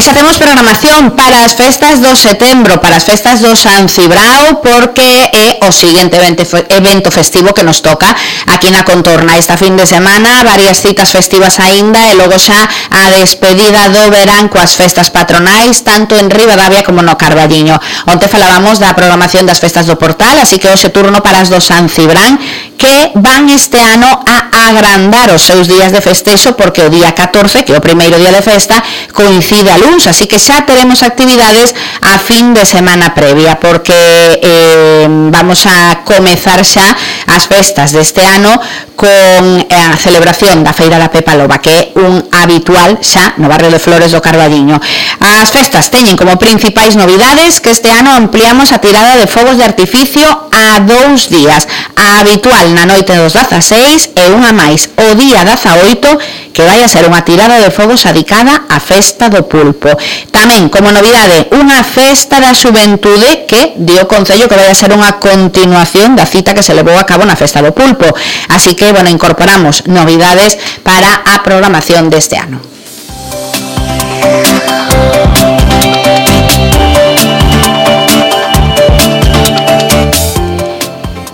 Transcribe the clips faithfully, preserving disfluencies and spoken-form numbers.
xa temos programación para as festas do setembro, para as festas do San Cibrao, porque é o seguinte evento festivo que nos toca aquí na contorna esta fin de semana, varias citas festivas aínda e logo xa a despedida do verán coas festas patronais, tanto en Ribadavia como no Carballiño. Onte falábamos da programación das festas do Portal, así que hoxe turno para as do San Cibrán, que van este ano a agrandar os seus días de festexo, porque o día catorce, que é o primeiro día de festa, coincide a luns, así que xa teremos actividades a fin de semana previa, porque eh, vamos a comezar xa as festas deste ano con a celebración da Feira da Pepa Loba, que é un habitual xa no barrio de Flores do Carballiño. As festas teñen como principais novidades que este ano ampliamos a tirada de fogos de artificio a dous días, a habitual na noite dos dezaseis e unha máis o día dezaoito, que vai a ser unha tirada de fogos adicada á festa do pulpo. Tamén, como novidade, unha festa da xuventude que dio o Concello que vai a ser unha continuación da cita que se levou a cabo na festa do pulpo. Así que, bueno, incorporamos novidades para a programación deste ano.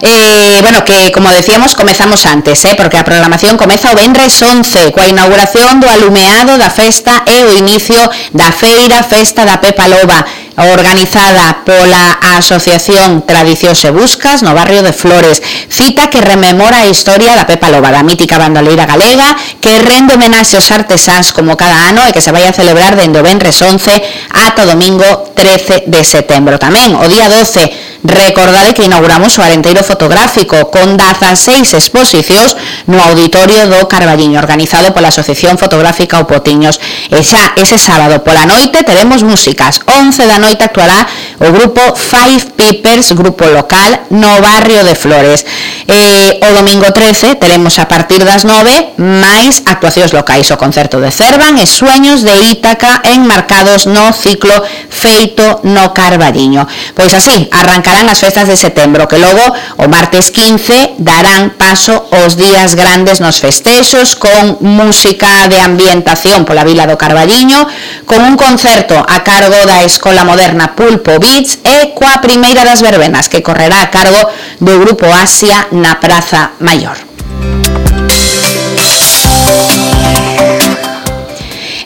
Eh, bueno, que como decíamos, comezamos antes, eh, porque a programación comeza o venres once, coa inauguración do alumeado da festa e o inicio da feira Festa da Pepa Loba, organizada pola Asociación Tradicións e Buscas no barrio de Flores, cita que rememora a historia da Pepa Loba, da mítica bandoleira galega, que rende homenaxe aos artesáns como cada ano e que se vai a celebrar dende o venres once ata o domingo trece de setembro. Tamén o día doce, recordade que inauguramos o Arenteiro Fotográfico con dezaseis exposicións no Auditorio do Carballiño, organizado pola Asociación Fotográfica O Potiños. E xa ese sábado pola noite teremos músicas. once da noite actuará o grupo Five Peppers, grupo local no barrio de Flores. E o domingo trece teremos a partir das nove máis actuacións locais, o concerto de Cervan e Sueños de Ítaca enmarcados no ciclo feito no Carballiño. Pois así, arrancarán as festas de setembro, que logo o martes quince darán paso aos días grandes nos festexos, con música de ambientación pola vila do Carballiño, con un concerto a cargo da Escola Moderna Pulpo Beats e coa primeira das verbenas, que correrá a cargo do Grupo Asia na Praza Maior.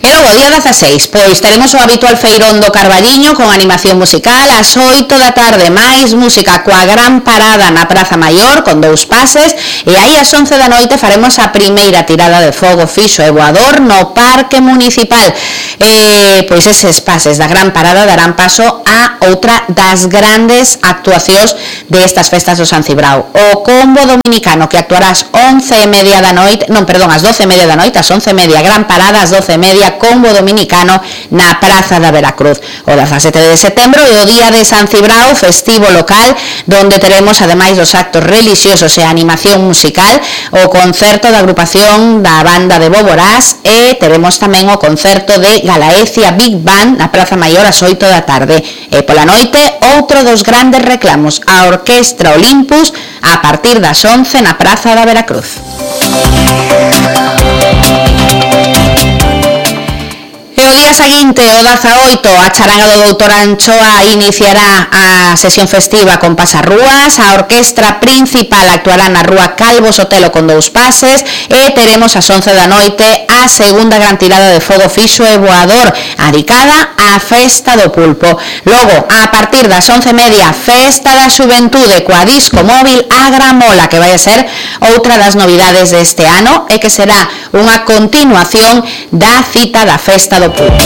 E logo, día dezaseis, pois teremos o habitual feirón do Carballiño con animación musical ás oito da tarde, máis música coa gran parada na Praza Maior con dous pases, e aí ás once da noite faremos a primeira tirada de fogo fixo e voador no Parque Municipal. E, pois eses pases da gran parada darán paso a outra das grandes actuacións destas festas do San Cibrao, o combo dominicano, que actuará ás once e media da noite, non, perdón, ás doce e media da noite, ás once e media, gran parada ás doce e media, combo dominicano na Praza da Veracruz. O dezasete de setembro é o día de San Cibrao, festivo local, donde teremos, ademais dos actos religiosos e a animación musical, o concerto da agrupación da banda de Boborás, e teremos tamén o concerto de Galaecia Big Band na Praza Maior ás oito da tarde. E pola noite, outro dos grandes reclamos, a Orquestra Olympus, a partir das once na Praza da Veracruz. E o día seguinte, o dezaoito, a charanga do doutor Anchoa iniciará a sesión festiva con pasarrúas, a orquestra principal actuará na rúa Calvo Sotelo con dous pases, e teremos ás once da noite a segunda gran tirada de fogo fixo e voador, adicada á festa do pulpo. Logo, a partir das once e media, festa da xuventude coa disco móvil A Gramola, que vai a ser outra das novidades deste ano e que será unha continuación da cita da festa do pulpo.